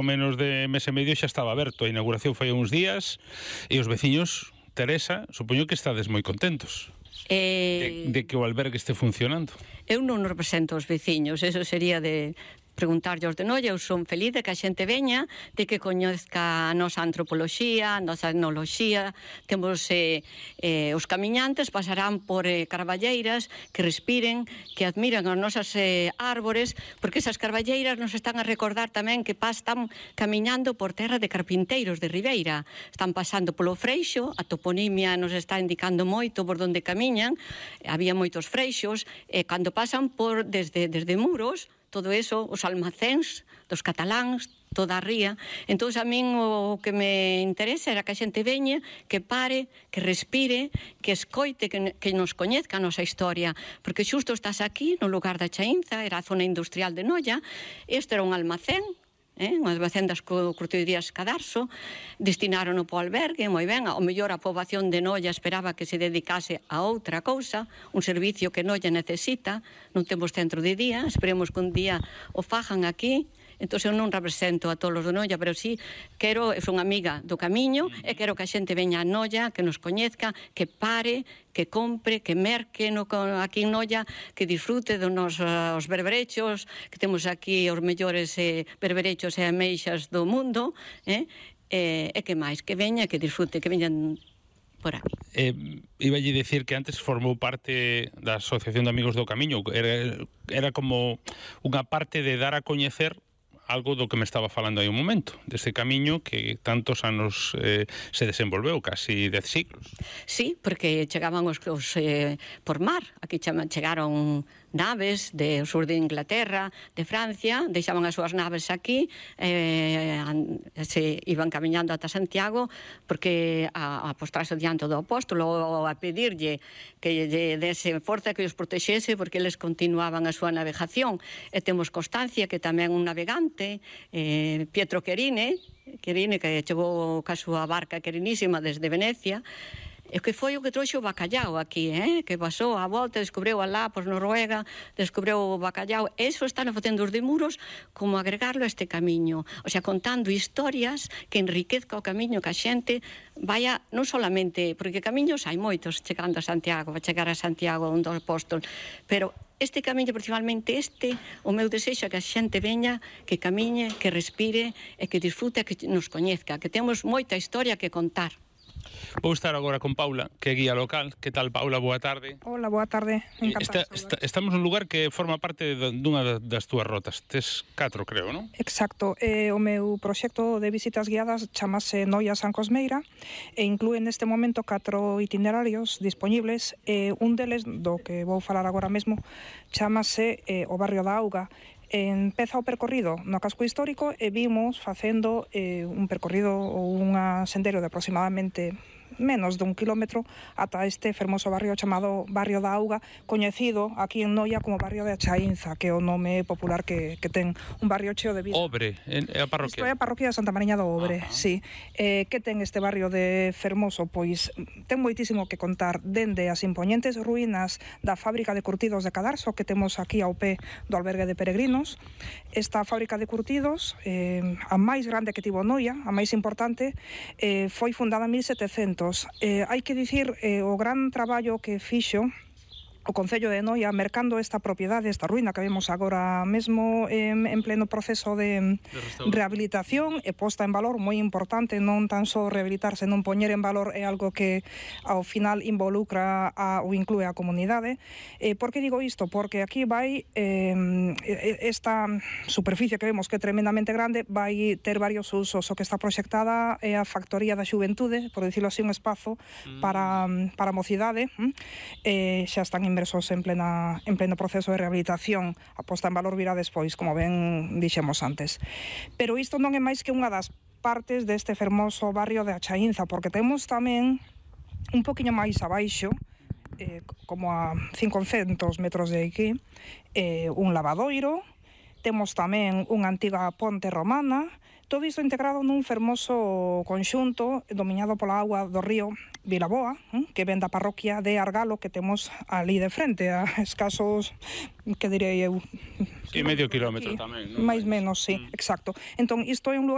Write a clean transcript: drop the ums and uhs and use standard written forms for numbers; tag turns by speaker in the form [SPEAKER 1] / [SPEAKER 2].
[SPEAKER 1] menos de mes e medio xa estaba aberto. A inauguración foi uns días e os veciños, Teresa, supoño que estades moi contentos de que o albergue este funcionando.
[SPEAKER 2] Eu non represento os veciños, eso sería de preguntarlle aos de Noia. Eu son feliz de que a xente veña, de que coñezca a nosa antropoloxía, a nosa etnoloxía. Temos os camiñantes pasarán por carballeiras que respiren, que admiran as nosas árbores, porque esas carballeiras nos están a recordar tamén que están camiñando por terra de carpinteiros de Ribeira. Están pasando polo Freixo, a toponimia nos está indicando moito por onde camiñan. Había moitos freixos, e cando pasan por desde Muros, todo eso, os almacéns dos cataláns, toda a ría. Entón, a min o que me interesa era que a xente veña, que pare, que respire, que escoite, que nos coñezca a nosa historia. Porque xusto estás aquí, no lugar da Chaínza, era a zona industrial de Noia. Este era un almacén, un almacén das curtidurías Cadarso, destinaron po albergue, moi ben. Ao mellor a poboación de Noia esperaba que se dedicase a outra cousa, un servicio que Noia necesita. Non temos centro de día, esperemos que un día o fajan aquí. Entón, eu non represento a todos os de Noia, pero sí quero, eu son amiga do camiño, e quero que a xente veña a Noia, que nos coñezca, que pare, que compre, que merque aquí en Noia, que disfrute dos nosos berberechos, que temos aquí os mellores berberechos e ameixas do mundo, e que máis, que veña, que disfrute, que veñan por aquí.
[SPEAKER 1] Iballe dicir que antes formou parte da Asociación de Amigos do Camiño, era como unha parte de dar a coñecer algo do que me estaba falando aí un momento, deste camiño que tantos anos se desenvolveu, casi 10 siglos.
[SPEAKER 2] Sí, porque chegaban os por mar, aquí chegaron naves do sur de Inglaterra, de Francia, deixaban as súas naves aquí, se iban camiñando ata Santiago, porque a postrarse diante do apóstolo, a pedirlle que lle dese forza, que os protexese, porque eles continuaban a súa navegación. E temos constancia que tamén un navegante, Pietro Querine, que chegou ca súa barca querinísima desde Venecia, e que foi o que trouxe o bacallau aquí, que pasou a volta, descubriu alá por Noruega, descubriu o bacallau. Eso están facendo os de Muros, como agregarlo a este camiño, o sea, contando historias que enriquezca o camiño, que a xente vaya, non solamente, porque camiños hai moitos chegando a Santiago, vai chegar a Santiago un do apóstol, pero este camiño, principalmente o meu desexo é que a xente veña, que camiñe, que respire e que disfrute, que nos coñezca, que temos moita historia que contar.
[SPEAKER 1] Vou estar agora con Paula, que é guía local. Que tal, Paula? Boa tarde.
[SPEAKER 3] Hola, boa tarde.
[SPEAKER 1] Estamos nun lugar que forma parte dunha das túas rotas. Tes 4, creo, non?
[SPEAKER 3] Exacto. O meu proxecto de visitas guiadas chamase Noia San Cosmeira e inclúe neste momento 4 itinerarios dispoñibles. Un deles, do que vou falar agora mesmo, chamase o barrio da Auga. Empeza o percorrido no casco histórico e vimos facendo un percorrido ou un sendero de aproximadamente menos de 1 kilómetro ata este fermoso barrio chamado Barrio da Auga, coñecido aquí en Noia como Barrio de Chaínza, que é o nome popular que ten, un barrio cheo de vida.
[SPEAKER 1] Obre, é a parroquia?
[SPEAKER 3] Isto é a parroquia de Santa Mariña do Obre, sí. Que ten este barrio de fermoso? Pois ten moitísimo que contar, dende as impoñentes ruínas da fábrica de curtidos de Cadarso, que temos aquí ao pé do albergue de peregrinos. Esta fábrica de curtidos, a máis grande que tivo Noia, a máis importante, foi fundada en 1700. Hai que dicir o gran traballo que fixo o Concello de Noia mercando esta propiedade, esta ruína que vemos agora mesmo en pleno proceso de rehabilitación e posta en valor, moi importante, non tan só rehabilitarse, non poñer en valor é algo que ao final involucra ou inclúe a comunidade. Por que digo isto? Porque aquí vai esta superficie que vemos que é tremendamente grande, vai ter varios usos. O que está proxectada é a factoría da xuventude, por dicirlo así, un espazo para a mocidade. Xa están inmersos en pleno proceso de rehabilitación. A posta en valor virá despois, como ben dixemos antes. Pero isto non é máis que unha das partes deste fermoso barrio de Chaínza, porque temos tamén un poquinho máis abaixo, como a 500 metros de aquí, un lavadoiro. Temos tamén unha antiga ponte romana. Todo isto integrado nun fermoso conxunto dominado pola auga do río Vilaboa, que ven da parroquia de Argalo, que temos ali de frente, a escasos, que direi eu...
[SPEAKER 1] Sí, medio kilómetro tamén, non?
[SPEAKER 3] Mais menos, sí, exacto. Entón, isto é un lugar